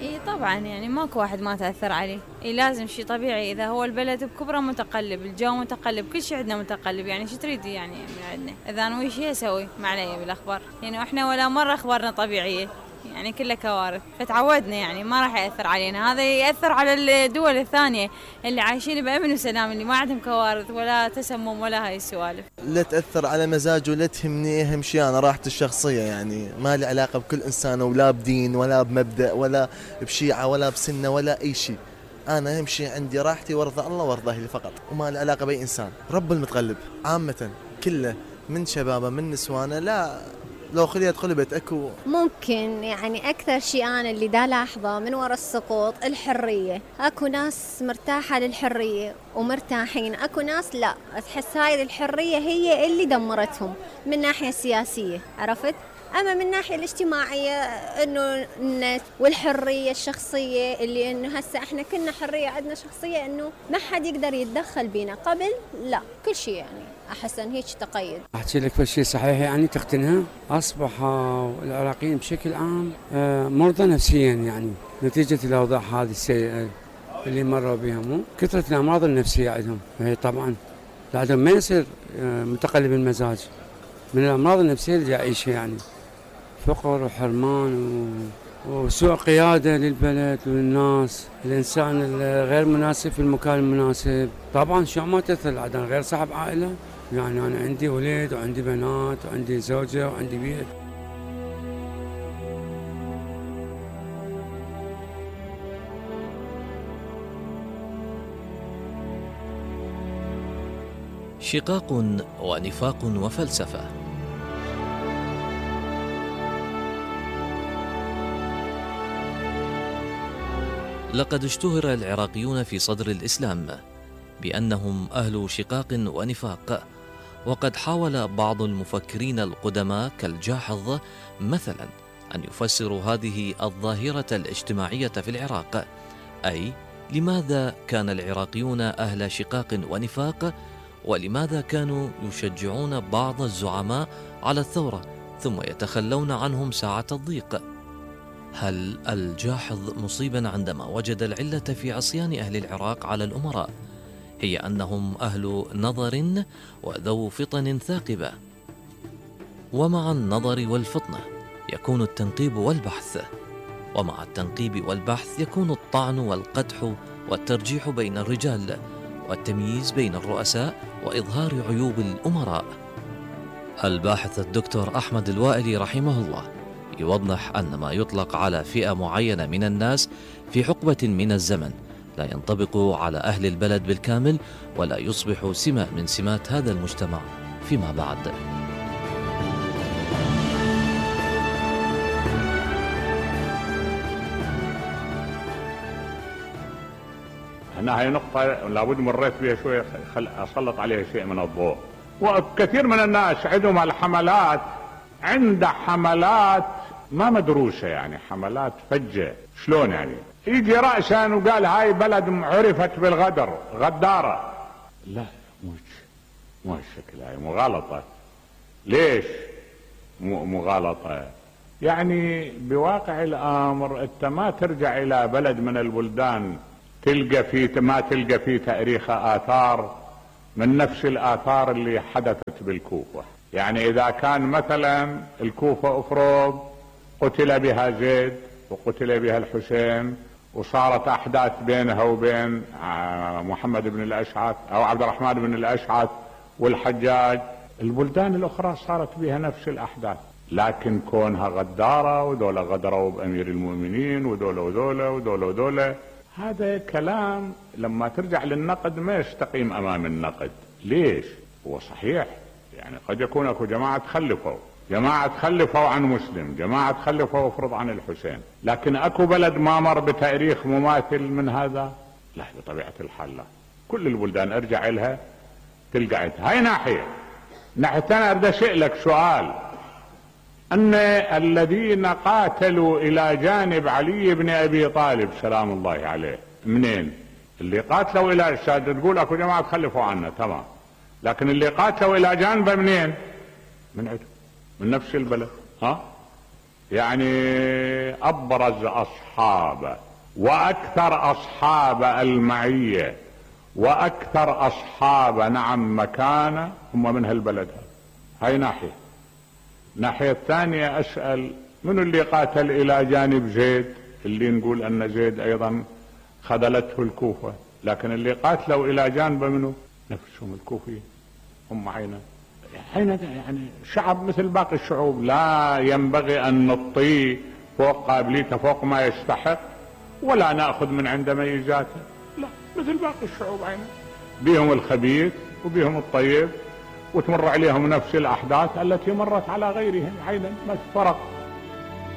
اي طبعا، يعني ماكو واحد ما تأثر عليه. اي لازم، شي طبيعي. اذا هو البلد بكبره متقلب، الجو متقلب، كل شي عندنا متقلب. يعني شو تريدي يعني من عندنا؟ اذا نوي شي اسوي ما علي بالاخبار. يعني احنا ولا مره اخبارنا طبيعيه، يعني كلها كوارث. فتعودنا، يعني ما راح يأثر علينا. هذا يأثر على الدول الثانية اللي عايشين بأمن وسلام، اللي ما عندهم كوارث ولا تسمم ولا هاي السوالف. لا تأثر على مزاجه، لا تهمني. أهم شيء أنا راحتي الشخصية، يعني ما لي علاقة بكل إنسان، ولا بدين ولا بمبدأ ولا بشيعة ولا بسنة ولا أي شيء. أنا أهم شيء عندي راحتي وارضى الله وارضى أهلي فقط، وما لي علاقة بأي إنسان. رب المتغلب عامة كله، من شبابه من نسوانه. لا لو خليت قلبت اكو ممكن يعني اكثر شيء انا اللي دا لاحظه من وراء السقوط الحريه. اكو ناس مرتاحه للحريه ومرتاحين، اكو ناس لا، تحس هاي الحريه هي اللي دمرتهم من ناحيه سياسيه، عرفت؟ اما من ناحيه الاجتماعيه انه النت والحريه الشخصيه، اللي انه هسه احنا كنا حريه عندنا شخصيه، انه ما حد يقدر يتدخل بينا. قبل لا، كل شيء يعني احس ان هيك تقيد. احكي لك بشيء صحيح يعني تختنها. اصبح العراقيين بشكل عام مرضى نفسيا، يعني نتيجه الاوضاع هذه السيئه اللي مروا بها، مو كثره الامراض النفسيه عندهم. هي طبعا بعدهم ما يصير متقلب المزاج من الامراض النفسيه اللي يعيشها، يعني فقر وحرمان وسوء قيادة للبلد وللناس، الإنسان الغير مناسب في المكان المناسب. طبعا شو ما تأثر العدن غير صاحب عائلة، يعني أنا عندي ولد وعندي بنات وعندي زوجة وعندي بيت. شقاق ونفاق وفلسفة. لقد اشتهر العراقيون في صدر الإسلام بأنهم أهل شقاق ونفاق، وقد حاول بعض المفكرين القدماء كالجاحظ مثلا أن يفسروا هذه الظاهرة الاجتماعية في العراق، أي لماذا كان العراقيون أهل شقاق ونفاق، ولماذا كانوا يشجعون بعض الزعماء على الثورة ثم يتخلون عنهم ساعة الضيق. هل الجاحظ مصيبا عندما وجد العلة في عصيان أهل العراق على الأمراء هي أنهم أهل نظر وذو فطن ثاقبة؟ ومع النظر والفطنة يكون التنقيب والبحث، ومع التنقيب والبحث يكون الطعن والقدح والترجيح بين الرجال والتمييز بين الرؤساء وإظهار عيوب الأمراء. الباحث الدكتور أحمد الوائلي رحمه الله يوضح أن ما يطلق على فئة معينة من الناس في حقبة من الزمن لا ينطبق على أهل البلد بالكامل، ولا يصبح سمة من سمات هذا المجتمع فيما بعد. هنا هي نقطة لابد مريت بها شوية أسلط عليها شيء من الضوء. وكثير من الناس عندهم الحملات، عند حملات ما مدروسة، يعني حملات فجة. شلون يعني؟ يجي رأسا وقال هاي بلد عرفت بالغدر، غدارة. لا مو الشكل، هاي مغالطة. ليش مغالطة؟ يعني بواقع الأمر انت ما ترجع إلى بلد من البلدان ما تلقى فيه تاريخ آثار من نفس الآثار اللي حدثت بالكوفة. يعني إذا كان مثلا الكوفة أفرض قتل بها زيد وقتل بها الحسين وصارت أحداث بينها وبين محمد بن الأشعث أو عبد الرحمن بن الأشعث والحجاج، البلدان الأخرى صارت بها نفس الأحداث، لكن كونها غدارة ودولة غدروا بأمير المؤمنين ودولة، هذا كلام لما ترجع للنقد ما يستقيم أمام النقد. ليش؟ هو صحيح يعني قد يكون اكو جماعة تخلفوا عن مسلم، جماعة تخلفوا افرض عن الحسين، لكن اكو بلد ما مر بتاريخ مماثل من هذا؟ لا، بطبيعة الحال لا. كل البلدان ارجع لها تلقى هاي ناحية ثانية. اريد اسألك سؤال، ان الذين قاتلوا الى جانب علي بن ابي طالب سلام الله عليه منين؟ اللي قاتلوا الى تقول اكو جماعة تخلفوا عنه، تمام، لكن اللي قاتلوا الى جانبه منين؟ من عندهم، من نفس البلد. يعني أبرز أصحابه وأكثر أصحاب المعية وأكثر أصحاب نعم مكانة هم من هالبلد. هاي ناحية. الناحية الثانية أسأل من اللي قاتل إلى جانب زيد، اللي نقول أن زيد أيضا خذلته الكوفة، لكن اللي قاتلوا إلى جانب منه نفسهم الكوفيين هم عينا. يعني شعب مثل باقي الشعوب، لا ينبغي أن نطيه فوق قابليته فوق ما يستحق ولا نأخذ من عنده ميزاته، لا، مثل باقي الشعوب عينا، بيهم الخبيث وبيهم الطيب، وتمر عليهم نفس الأحداث التي مرت على غيرهم عينا، ما فرق.